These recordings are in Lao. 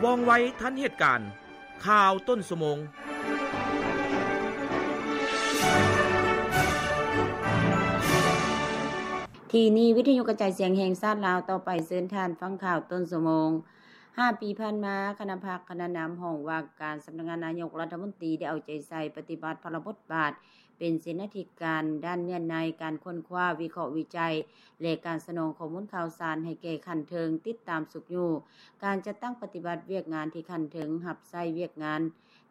ວ່ອງໄວທັນເຫດການ. ຂ່າວຕົ້ນຊົ່ວໂມງ. ທີ່ນີ້ວິທະຍຸກະຈາຍສຽງແຫ່ງຊາດລາວ. ຕໍ່ໄປເຊີນທ່ານຟັງຂ່າວຕົ້ນຊົ່ວໂມງ. ຫ້າປີຜ່ານມາ, ຄະນະພັກຄະນະນຳຫ້ອງວ່າການສຳນັກງານນາຍົກລັດຖະມົນຕີ ໄດ້ເອົາໃຈໃສ່ປະຕິບັດພາລະບົດບາດ ເປັນເສນາທິການດ້ານເນື້ອໃນ, ການຄົ້ນຄວ້າ, ວິເຄາະວິໄຈ ແລະ ການສະໜອງຂໍ້ມູນຂ່າວສານໃຫ້ແກ່ຂັ້ນເທິງ, ຕິດຕາມຊຸກຍູ້ການຈັດຕັ້ງປະຕິບັດວຽກງານທີ່ຂັ້ນເທິງຮັບໃຊ້ວຽກງານ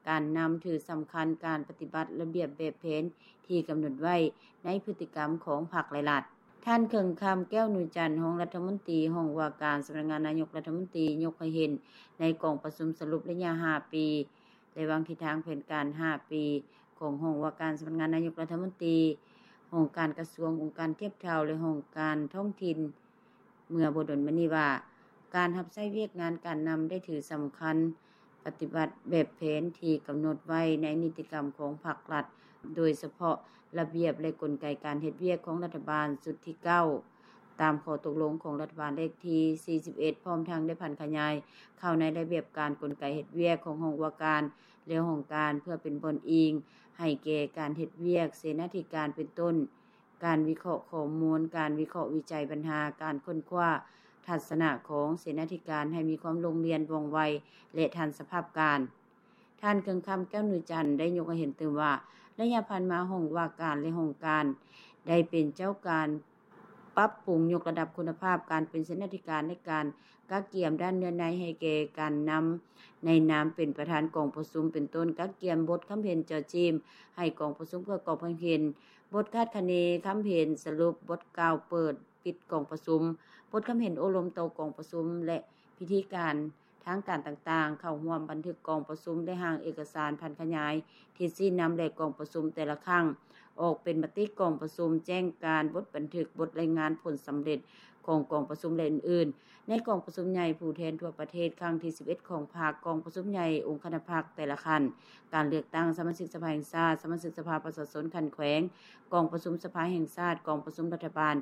ການນຳ, ຖືສຳຄັນການປະຕິບັດລະບຽບແບບແຜນທີ່ກຳນົດໄວ້ໃນພຶດຕິກຳຂອງພັກ ແລະ ລັດ. ທ່ານ ເຄິ່ງຄຳ ແກ້ວນູຈັນ ຮອງລັດຖະມົນຕີ ຫ້ອງວ່າການສຳນັກງານນາຍົກລັດຖະມົນຕີ ຍົກໃຫ້ເຫັນໃນກອງປະຊຸມສະຫຼຸບໄລຍະຫ້າປີ ແລະ ວາງທິດທາງແຜນການຫ້າປີຂອງຫ້ອງວ່າການສຳນັກງານນາຍົກລັດຖະມົນຕີ, ຫ້ອງການກະຊວງ, ອົງການທຽບເທົ່າ ແລະ ຫ້ອງການທ້ອງຖິ່ນ ເມື່ອບໍ່ດົນມານີ້ວ່າ ການຮັບໃຊ້ວຽກງານການນຳໄດ້ຖືສຳຄັນ ປະຕິບັດແບບແຜນທີ່ກຳນົດໄວ້ໃນນິຕິກຳຂອງພັກລັດ, ໂດຍສະເພາະລະບຽບ ແລະ ກົນໄກການເຮັດວຽກຂອງລັດຖະບານຊຸດທີເກົ້າ ຕາມຂໍ້ຕົກລົງຂອງລັດຖະບານເລກທີສີ່ສິບເອັດ ພ້ອມທັງໄດ້ຜັນຂະຫຍາຍເຂົ້າໃນລະບຽບການ, ກົນໄກເຮັດວຽກຂອງຫ້ອງວ່າການ ແລະ ຫ້ອງການ ເພື່ອເປັນບ່ອນອີງໃຫ້ແກ່ການເຮັດວຽກເສນາທິການ ເປັນຕົ້ນ ການວິເຄາະຂໍ້ມູນ, ການວິເຄາະວິໄຈບັນຫາ, ການຄົ້ນຄວ້າທັດສະນະຂອງເສນາທິການໃຫ້ມີຄວາມໂລ່ງລຽນ, ວ່ອງໄວ ແລະ ທັນສະພາບການ. ທ່ານ ເຄິ່ງຄຳ ແກ້ວນູຈັນ ໄດ້ຍົກໃຫ້ເຫັນຕື່ມວ່າ ໄລຍະຜ່ານມາ ຫ້ອງວ່າການ ແລະ ຫ້ອງການ ໄດ້ເປັນເຈົ້າການປັບປຸງຍົກລະດັບຄຸນນະພາບການເປັນເສນາທິການ ໃນການກະກຽມດ້ານເນື້ອໃນໃຫ້ແກ່ການນຳ ໃນນາມເປັນປະທານກອງປະຊຸມ ເປັນຕົ້ນ ກະກຽມບົດຄຳເຫັນເຈາະຈີ້ມໃຫ້ກອງປະຊຸມເພື່ອກອກຄຳເຫັນ, ບົດຄາດຄະເນຄຳເຫັນສະຫຼຸບ, ບົດກ່າວເປີດປິດກອງປະຊຸມ, ບົດຄຳເຫັນໂອ້ລົມຕໍ່ກອງປະຊຸມ ແລະ ພິທີການທາງການຕ່າງໆ ເຂົ້າຮ່ວມບັນທຶກກອງປະຊຸມ ແລະ ຮ່າງເອກະສານຜັນຂະຫຍາຍ ທິດຊີ້ນຳ ແລະ ກອງປະຊຸມແຕ່ລະຄັ້ງ ອອກເປັນມະຕິກອງປະຊຸມ, ແຈ້ງການ, ບົດບັນທຶກ, ບົດລາຍງານຜົນສຳເລັດຂອງກອງປະຊຸມ ແລະ ອື່ນໆ. ໃນກອງປະຊຸມໃຫຍ່ຜູ້ແທນທົ່ວປະເທດຄັ້ງທີສິບເອັດຂອງພັກ, ກອງປະຊຸມໃຫຍ່ອົງຄະນະພັກແຕ່ລະຂັ້ນ, ການເລືອກຕັ້ງສະມາຊິກສະພາແຫ່ງຊາດ, ສະມາຊິກສະພາປະຊາຊົນຂັ້ນແຂວງ, ກອງປະຊຸມສະພາແຫ່ງຊາດ, ກອງປະຊຸມລັດຖະບານ,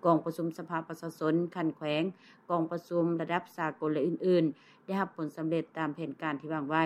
ກອງປະຊຸມສະພາປະຊາຊົນຂັ້ນແຂວງ, ກອງປະຊຸມລະດັບສາກົນ ແລະ ອື່ນໆ ໄດ້ຮັບຜົນສຳເລັດຕາມແຜນການທີ່ວາງໄວ້.